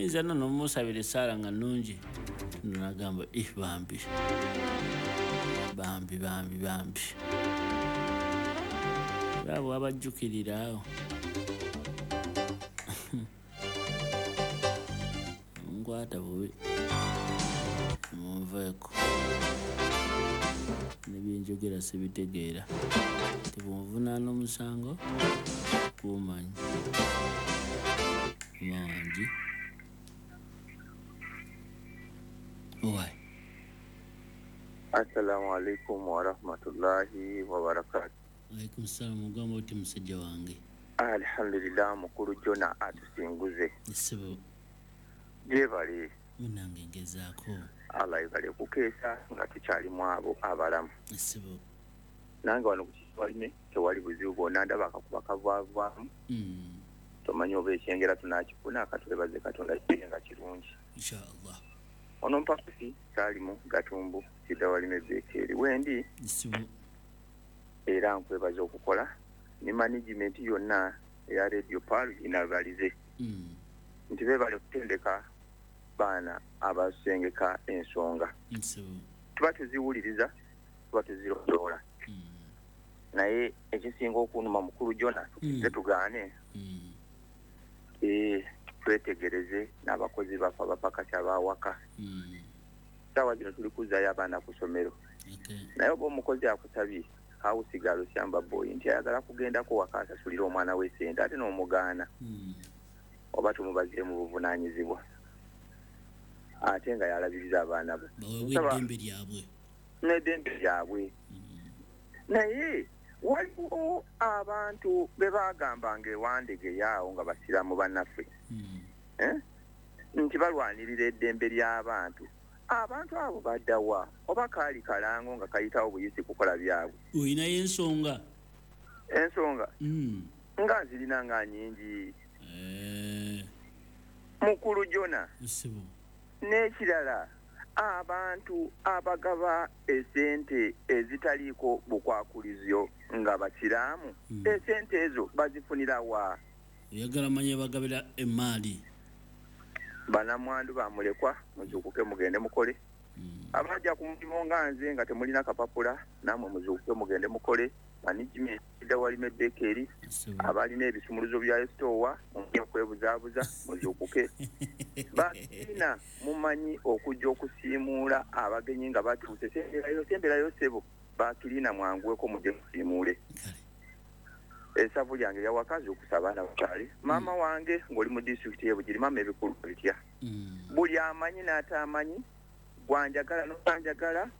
Muyinza nno nomusabira essaala nga nnungi, nagamba bambi bambi bambi bambi, abo abajjukirira awo nkwata bubi, munveeko nebyenjogera sibitegeera, tebunvunaana omusango gumanyi mangi. Owai. Assalamu alaikum warahmatullahi wabarakatuh. Alaikum salam. Ogamba oti musajja wange? Alhamdulillah, mukulu Jona atusinguze. Ssebo. Gyebale. Munange ngezaako. Allah yebale kukeesa nga tukyalimu abo abalamu. Ssebo. Nange wano ku Kiwalime tewali buzibu bwonna, ndaba akakuba kavaavaamu. Tomanyi oba ekyengera tunaakifuna, akatwebaze Katonda kiri nga kirungi. Inshallah. Ono mpakasi Saalimu Gatumbu Kidawalime Bekeeri wendi. Ssebo. Era nkwebaza okukola ne management yonna eya Radio Pearl inabalize. Nti beebale kutendeka baana abasengeka ensonga. Ssebo. Tuba tuziwuliriza, tuba tuzirondoola. Naye ekisinga okunuma mukulu Jona, tukize tugaane. Twetegereze n'abakozi baffe abapakasi abawaka. Ssaawa zino tuli kuzzaayo abaana ku ssomero. Naye oba omukozi akusabye hawusigalo syamba boy nti ayagala kugendako waka asasulire omwana we ssente ate n'omugaana, oba tumubazire mu buvunaanyizibwa ate nga yalabiriza abaana bo. Baweebwe eddembe lyabwe. N'eddembe lyabwe. Naye waliwo abantu be bagambanga ewandegeyaawo nga basiraamu bannaffe, nti balwanirira eddembe ly'abantu. Abantu abo baddawa oba kaali kalango nga kayitawo buyisi kukola byabwe. Olinayo ensonga? Ensonga nga nzirina nga nnyingi. Mukulu Jona. Ssebo. N'ekirala, abantu abagaba esente ezitaliiko bukwakulizyo nga basiraamu, esente ezo bazifunira wa? Oyagala manye bagabira emaali. Banamwandu bamulekwa muzuukuke mugende mukole. Abajja ku mulimu nga nze nga temulina kapapula, namwe muzuukuke mugende mukole. Management Kidawalime Bekeeri, abalina ebisumuluzo bya sitowa mujja kwebuzaabuza muzuukuke. Balina mumanyi okujja okusiimuula abagenyi nga batuuse, semberayo semberayo ssebo, bakirina mwanguweko mujje musiimuule. Essavu lyange lyawaka zuukusa abaana bakyali. Maama wange ng'oli mu disitulikiti y'e Bugiri, maama ebikulu bitya? Buli amanyi n'ataamanyi, gwanjagala n'otanjagala,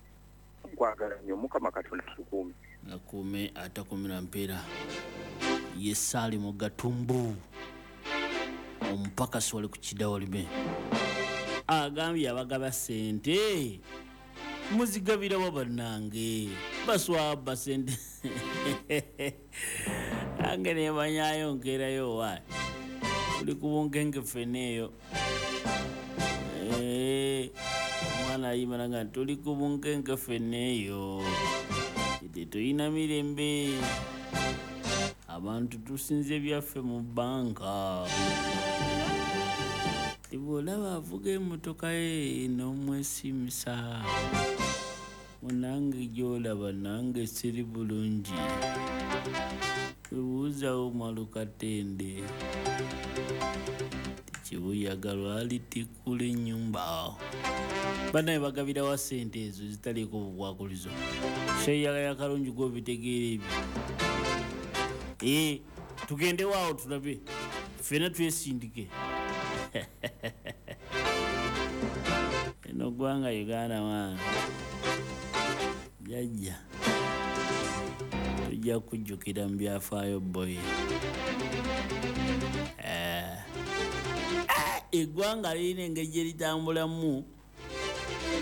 nkwagala nnyo. Mukama Katonda tukuume. Akuume atakumira mpeera. Ye Saalimu Gatumbu omupakasi wali ku Kidawalime agambye abagaba ssente muzigabirawo bannange, baswaba ssente ange nemanyayo nkeerayo wa tuli ku bunkenke ffenna eyo. Omwana ayimana nga tuli ku bunkenke ffenna eyo, tetulina mirembe, abantu tusinze byaffe mu bbanka. Tibw'olaba avuga emmotoka ye n'omwesimisa, munange gy'olaba nange siri bulungi, webuuzawo Malukatende tikibuyaga lwalitikkula ennyumba. Bannaye bagabirawa ssente ezo zitaliiko bukwakulizo? Sheyagaya kalungi gw'obitegeera ebyo. Tugendewo awo tulabe ffenna twesindike. Eno ggwanga Uganda mwana jjajja tujja kujjukira mu byafaayo boye. Eggwanga lirina engeri gye litambulamu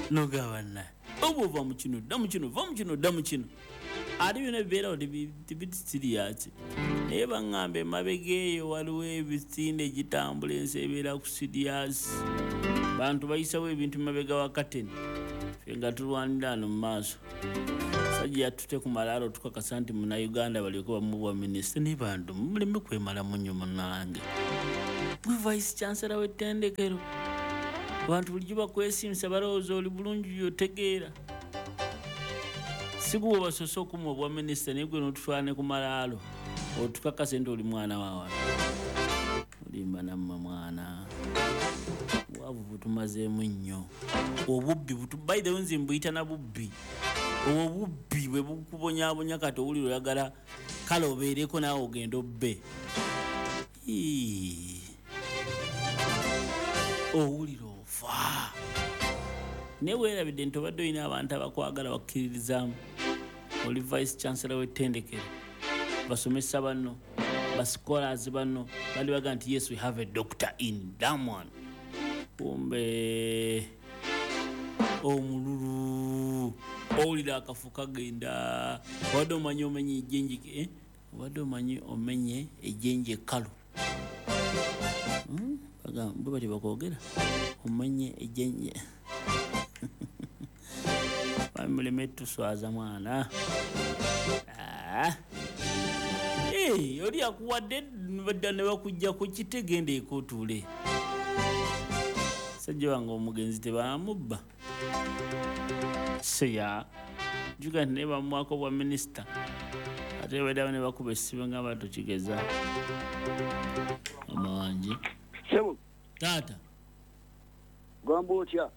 nogabana oba ova mu kino dda mu kino, va mu kino dda mu kino, ate byonna bibeerawo tebiti siriyaasi. Naye baŋŋamba emabega eyo waliwo ebisinde gitambula, ensi ebeera ku siriyaasi, bantu bayisawo ebintu mabega wa kateni, ffe nga tulwanira ano mu maaso. Sajja yatute ku malaalo tukakasa nti munnayuganda balyoke bamuwa minisita. Naye bantu muleme kwemalamu nnyo munnange. Gwe vice chancellor w'ettendekero, abantu bulijjo bakwesimisa, balowooza oli bulungi, otegeera. Si gwe basoose okumuwa obwa minisita, naye gwe n'otutwala ne ku malaalo otukakase nti oli mwana wa wano. Olimba nammwe mwana. Obwavu butumazeemu nnyo, obubbi by the way nze mbuyita na bubbi. Obwo obubbi bwe bukubonyaabonya, kati owulira oyagala kale obeereko naawe ogende obbe. Ii. Owulira ofa, naye weerabidde nti obadde olina abantu abakwagala, bakkiririzaamu. Oli vice chancellor w'ettendekero, basomesa banno, bascholars banno bali baga nti, "Yes, we have a doctor in Damon." Kumbe omululu, owulira akafu kagenda. Obadde omanyi omenye ejjenje, eh? Obadde omanyi omenye ejjenje ekkalu. Bwe batyo bakwogera, omenye ejjenje. Bamuleme tuswaza mwana. Ah. Eh, oli akuwadde badda ne bakujja ku kitegende ekotuule. Sajja wange omugenzi tebamubba seya juga nti naye bamuwako bwa minisita, ate baddawo ne bakuba essimu nga batukigeza mama wange. Sebo. Taata. Gamba otya?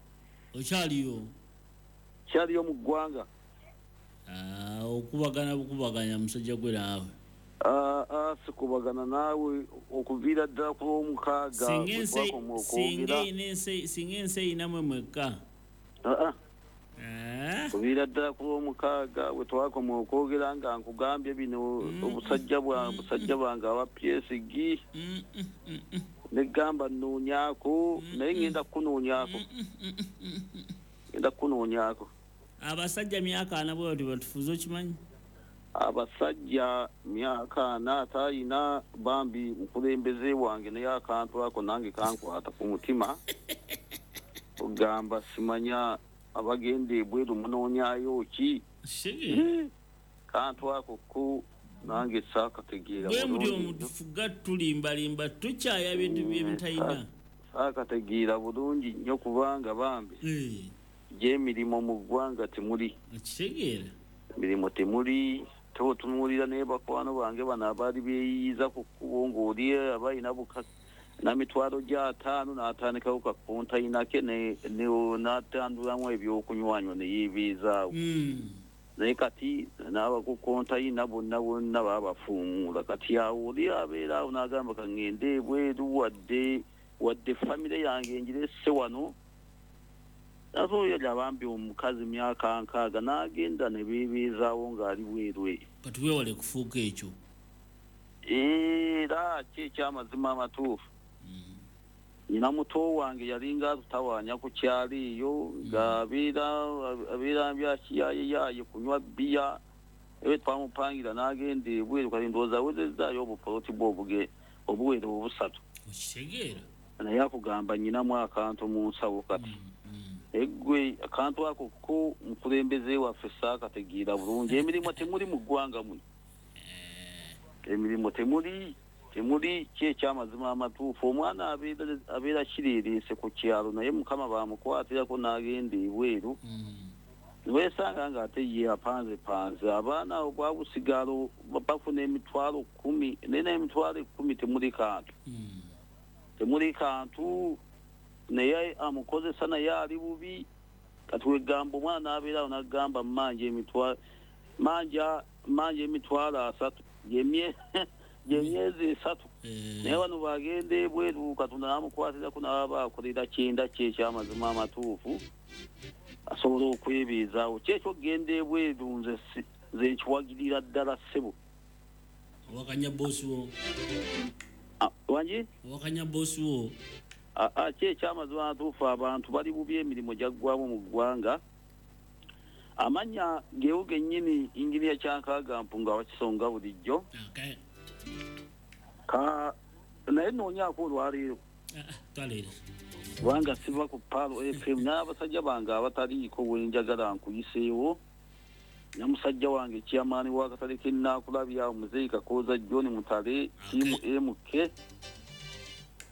Okyaliyo? Kyaliyo mu ggwanga. Ah, okubagana bukubaganya musajja gwe naawe. Ah, ah, sikubagana naawe okuviira ddala ku lwomukaaga Singa bwe ensi twakoma singa okwogera. eyina ensi, singa ensi eyinamwe mwekka. Ah, ah. Eh? Kuviira ddala ku lwomukaaga bwe twakoma okwogera nga nkugambye bino, obusajja bwange aba PSG, negamba nnoonyaako, naye ngenda kukunoonyaako, ngenda kukunoonyaako. Abasajja myaka 40 bwe batyo batufuze, okimanyi? Abasajja myaka 40 atayina bambi mukulembeze wange, naye akantu ako nange kankwata ku mutima, ogamba simanya abagenda ebweru munoonyayo ki? Sige. Kantu ako ku nange saakategeera Bwe muli bulungi nnyo. Omutufuga tulimbalimba, tukyaya bintu byebitalina. Saakategeera bulungi nnyo kubanga bambi gy'emirimu mu ggwanga temuli. Okitegeera. Emirimu temuli, totunuulira naye bakwano bange bano abaali beeyiyiza ku kkubo, ng'oli aba alina buka na 500,000 n'atandikawo ka kontayina ke n'atandulamu ebyokunywanywa ne yeebeezaawo. Naye kati n'abaku kontayina bonna bonna baabafuumuula. Kati awo oli abeera awo n'agamba, "Kaŋŋende ebweru, wadde famire yange ngiresse wano." Ate oyo abambi omukazi myaka 60 n'agenda ne beebeezaawo ng'ali bweru eyo. Kati weewale kufuuka ekyo. Era ki ekyamazima amatuufu, nyina muto wange yalinga atutawaanya ku kyalo eyo, ng'abeera abeera mbyakiyaayeyaaye kunywa bbiya, ewe twamupangira n'agenda ebweru. Kati ndowooza awezezzaayo obupoloti bwe obuwera obusatu. Okitegeera. Naye akugamba nyinamu akantu mu nsawo. Kati eggwe akantu ako ko mukulembeze waffe saakategeera bulungi. Emirimu temuli mu ggwanga muno, emirimu temuli, temuli. Ki ekyamazima amatuufu, omwana abeera kireereese ku kyalo, naye mukama bamukwatirako n'agenda ebweru, niweesanga ng'ate ye apanze panze abaana obwabusigalo bafuna 100,000, naye n'10,000 temuli kantu, temuli kantu, naye amukozesa, naye ali bubi. Kati wegamba omwana n'abeerawo n'agamba, "Manja emitwalo, manja, manja 30,000 gyemyezi 3." Naye bano bagenda ebweru, Katonda n'amukwatirako n'aba akolera kyenda. Kye ekyamazima amatuufu, asobola okwebeezaawo. Kyekyo okugenda ebweru nze nze nkiwagirira ddala, ssebo. Owakanya boosi wo? Ah, wangi? Owakanya boosi wo? Ah, ah, ki ekyamazima amatuufu, abantu bali bubi, emirimu gyaggwamu mu ggwanga. Amannya gewo gennyini, inginiya Kyankaaga Mpunga wakisonga bulijjo. Ka naye noonyaako olwaleero. Ah, ah, twaleero. Kubanga siva ku Pearl FM n'abasajja bange abataliiko wenjagala nkuyiseewo, ne musajja wange kyamaani w'akatale k'ennaakulabya, Muzeeyi Kakooza John Mutale, tiimu MK.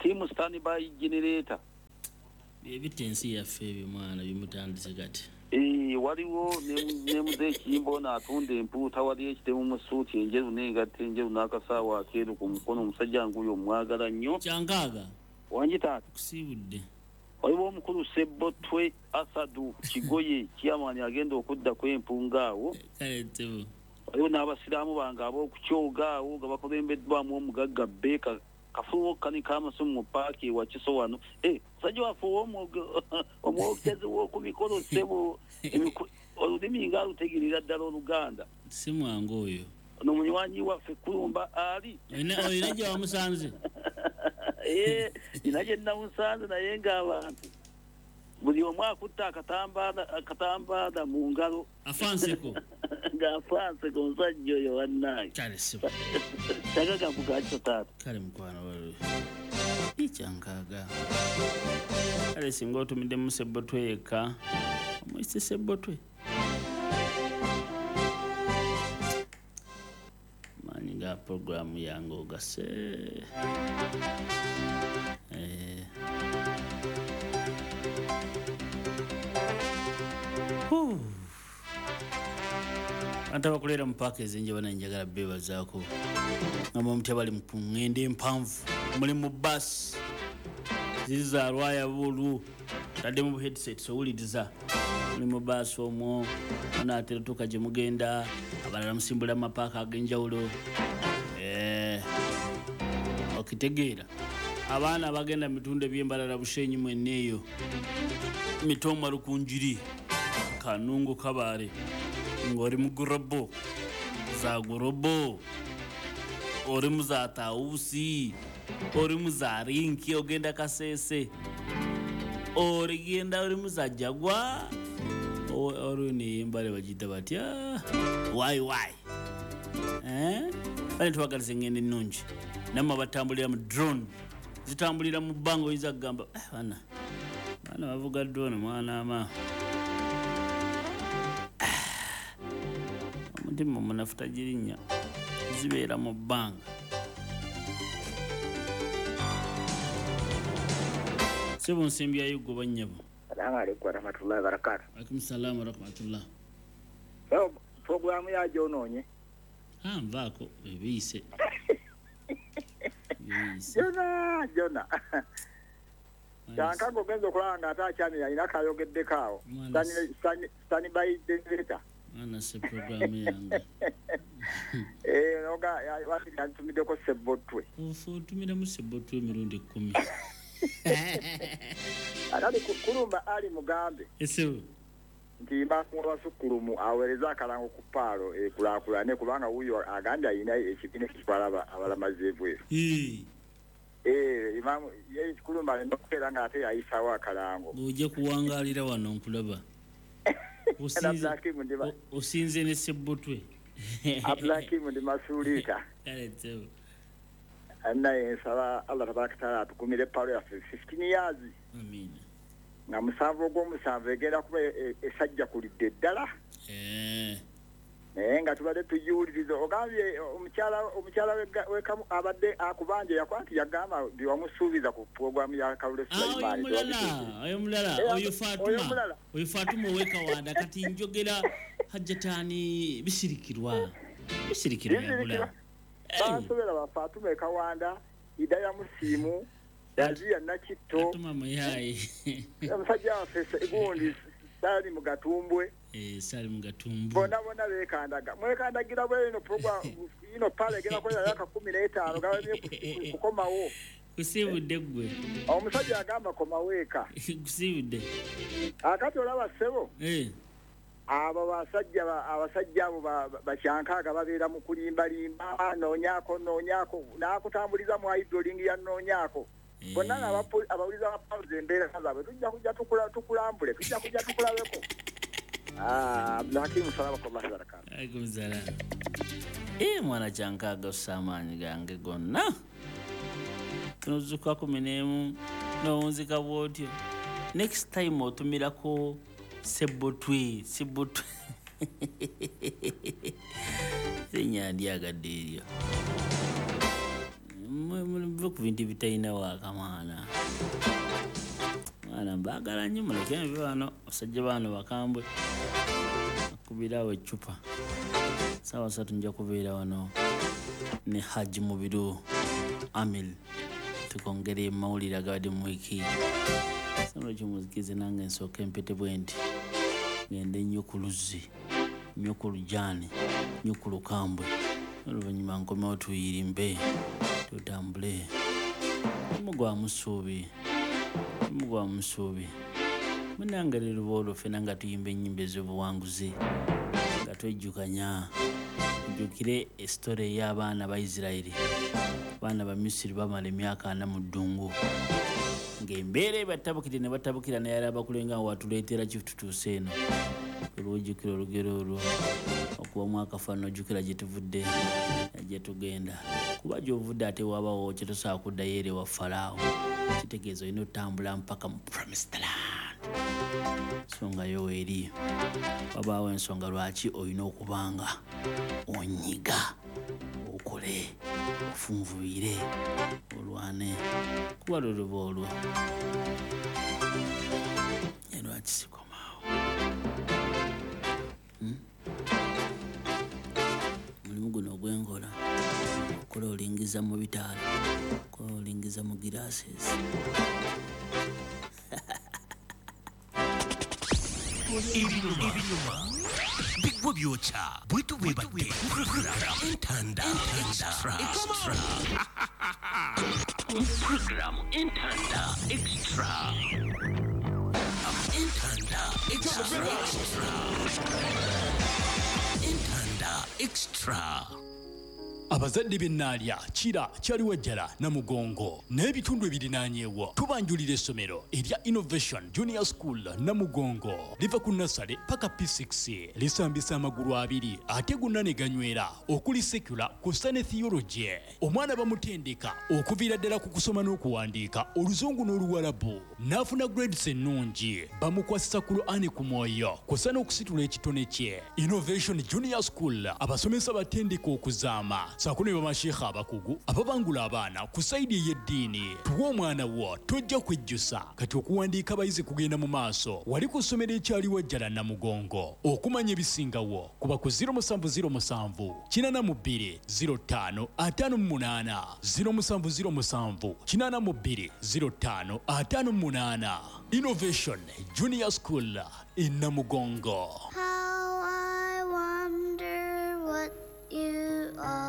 Team standby generator. Ebita ensi yaffe ebyo mwana bimutandise kati. Waliwo ne muzeeyi Kiyimba n'atunda empuuta, wali ekitemu mu ssuuti enjeru n'engatto enjeru n'akasaawa akeeru ku mukono, omusajja nguyo omwagala nnyo. Kyankaaga. Wangi taata. Kusiibudde. Waliwo omukulu Sebbotwe Asadu Kigoye chairman agenda okuddako empunga awo. Kale ttebo. Waliwo n'abasiraamu bange ab'okukyoga awo nga bakulembeddwamu omugagga Beka kafubo kanika amasimu mu paaki ewa Kiso wano. Musajja waffe omwogezi w'oku mikolo ssebo, olulimi nga alutegeerera ddala Oluganda. Si mwangu oyo. Ono munywanyi waffe Kulumba ali. Olina gye wamusanze? Nina gye namusanze naye ng'abantu buli omu akutte akatambaala mu ngalo. Afanseko. Ng'afanseko omusajja oyo wannange. Kale ssebo. Kyagaga mukakyo taata. Kale mukwano waliwo. Kyankaaga. Kale singa otumiddemu Sebbotwe yekka, omuyise Sebbotwe. Maanyi ga puroguramu yange ogase. Abantu abakolera mu paaka ez'enjawulo njagala beebazaako. Nga mutya bali mu ŋŋendo empanvu, muli mu bbaasi ziri za lwaya buulu, taddemu bu headsets owuliriza. Muli mu bbaasi omwo, munaatera otuuka gye mugenda, abalala musimbula mu mapaaka ag'enjawulo. Okitegeera. Abaana abagenda mu bitundu eby'embalala Bushenyi mwenna eyo, Mitooma Lukunjiri, Kanungu Kabaale, ng'oli mu gurobo, za gurobo, oli mu za tawusi, oli mu za rinki ogenda Kasese, oligenda oli mu za Jagwa, oli neyembale bagiyita batya wayi wayi. Bale tubagaliza engendo ennungi. Nammwe abatambulira mu drone, zitambulira mu bbanga oyinza kugamba bana bavuga drone mwana ama. Omutima omunafu tagirinnya, zibeera mu bbanga. Ssebo nsimbi ya Yugo bannyabo. Salaamu alaikum warahmatullahi wabarakatuh. Alaikum salaam warahmatullah. So programu yagyonoonye. Nvaako ebiyise. Jona. Kyankaga ogenza okulaba nga ate akyamira alina kayogeddeko awo. Standby generator. Mwana se programu yange. Noga yantumiddeko Sebbotwe. Ofa otumiramu Sebbotwe emirundi 10. Akati Kulumba ali mugambe. Ssebo. Nti mbakuwa aweereza akalango ku paalo ekulaakulane kubanga wuuyo agambye alina ekibiina ekitwala abalamazi ebweru. Imaamu ye Kulumba alina okubeera ng'ate yayisaawo akalango. Ojja kuwangaalira wano nkulaba. Osinze ne Sebbotwe. Abdulhakimu ndi Masuliita. Kale ssebo. Naye nsaba Allah tabaraka taala atukumire paalo yaffe 15 years. Amiina. Nga musanvu ogw'omusanvu egenda kuba esajja kulidde ddala. Naye nga tubadde tugiwuliriza ogambye omukyala wekamu abadde akubanja yakwati yagamba byewamusuubiza ku puroguramu ya Kalule Sulaiman. Oyo mulala, oyo Fatuma. Oyo Fatuma ow'Ekawanda kati njogera Hajjatani Bisirikirwa. Bisirikirwa yabula. Basobola ba Fatuma Ekawanda, Idaya Musiimu, Yazia Nakitto. Fatuma Muyayi. Omusajja waffe gundi Sali Mugatumbwe. Sali Mugatumbwe. Bonna bonna beekandaga. Mwekandagira bwe ino program ino pale egenda kubeera myaka 15 gabamye kukomawo. Kusiibudde ggwe. Omusajja agamba komawo eka. Kusiibudde. Akati olaba ssebo. Abo abasajja abo bakyankaaga babeera mu kulimbalimba, noonyaako n'akutambuliza mu idling ya noonyaako. Bonna abawuliza bapawuza embeera zaabwe tujja kujja tukulambule, tujja kujja tukulabeko. Abdulhakimu salaamatullahi wabarakatuh. Alaikum salaam. Mwana kyankaaga ossa amaanyi gange gonna. Tunozuka 11 n'owunzika bw'otyo. Next time otumirako Sebbotwe. Erinnya ndyagadde eryo. Muve ku bintu ebitalina waakamaana. Mwana mbaagala nnyo, muleke nve wano, abasajja baano bakambwe. Akubirawo eccupa. 3:00 nja kubeera wano ne Haji Mubiru Amil, tukongere mawulire agabadde mu wiiki. Sano kimuzikize nange nsooke empete bwe nti ngende nnyo ku luzzi, nnyo ku lujaani, nnyo ku lukambwe, oluvannyuma nkomewo tuyirimbe tutambule. Mugwamu ssuubi, mugwamu ssuubi. Munnange leero olwo ffenna nga tuyimba ennyimba ez'obuwanguzi nga twejjukanya. Ojjukire esitole ey'abaana ba Isirayiri. Abaana ba Misiri bamala emyaka 40 mu ddungu ng'embeera ebatabukire ne batabukira, naye abakulenga watuleetera ki tutuuse eno. Olwojjukira olugero olwo okubamu akafaananyi, ojjukira gye tuvudde gye tugenda, kuba gy'ovudde ate wabawo kye tosobola kuddayo eri ewa Falaawo. Kitegeeza olina otambula mpaka mu promised land. Ensonga yo weeri, wabaawo ensonga lwaki olina okubanga onyiga, okole, ofunvubire, olwane, kuba lwe luba olwo. Lwaki sikomaawo? Mulimu guno ogw'enkola, okola olingiza mu bitaala, okola olingiza mu glasses. Ebinyuma bigwa byokya bwetu bwebadde program Entanda Extra. Program Entanda Extra. Entanda Extra. Entanda Extra. Abazadde b'Ennaalya, Kira, Kyaliwajjala, Namugongo n'ebitundu ebirinaanyeewo tubanjulira essomero erya Innovation Junior School Namugongo. Liva ku nursery paka P6, lisambisa amagulu abiri ate gonna ne ganywera, okuli secular kw'ossa ne theology. Omwana bamutendeka okuviira ddala ku kusoma n'okuwandiika Oluzungu n'Oluwarabu, n'afuna grades ennungi. Bamukwasisa Qur'ani ku mwoyo kw'ossa n'okusitula ekitone kye. Innovation Junior School abasomesa batendeka okuzaama saako ne bamasheikha abakugu ababangula abaana ku sayidi ey'eddiini. Tuwa omwana wo, tojja kwejjusa. Kati okuwandiika abayizi kugenda mu maaso wali ku ssomero ekyaliwajjala Namugongo. Okumanya ebisingawo kuba ku 0707 82 05 58, 0707 82 05 58. Innovation Junior School in Namugongo. How I wonder what you are.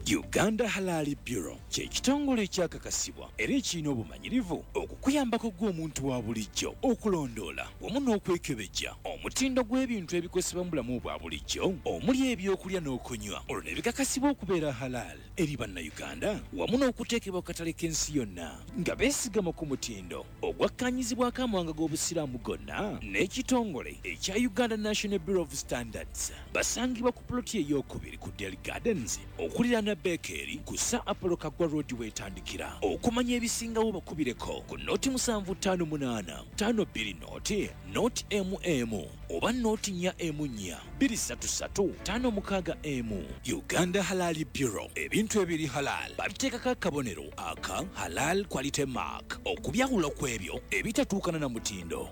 Uganda Halal Bureau kye kitongole ekyakakasibwa era ekirina obumanyirivu okukuyambako gw'omuntu wa bulijjo okulondoola wamu n'okwekebejja omutindo gw'ebintu ebikozesebwa mu bulamu bwa bulijjo omuli ebyokulya n'okunywa, olwo ne bikakasibwa okubeera halal eri Bannayuganda wamu n'okuteekebwa ku katale k'ensi yonna nga beesigama ku mutindo ogwakkaanyizibwako amawanga g'Obusiraamu gonna n'ekitongole ekya Uganda National Bureau of Standards. Basangibwa ku ploti ey'okubiri ku Del Gardens okuliraana Bekeri ku Sir Apollo Kaggwa Road weetandikira. Okumanya ebisingawo bakubireko ku 0758 52 0 0 MM oba 0 4 4 233 56 M. Uganda Halal Bureau, ebintu ebiri halal babiteekako akabonero aka Halal Quality Mark okubyawula ku ebyo ebitatuukana na mutindo.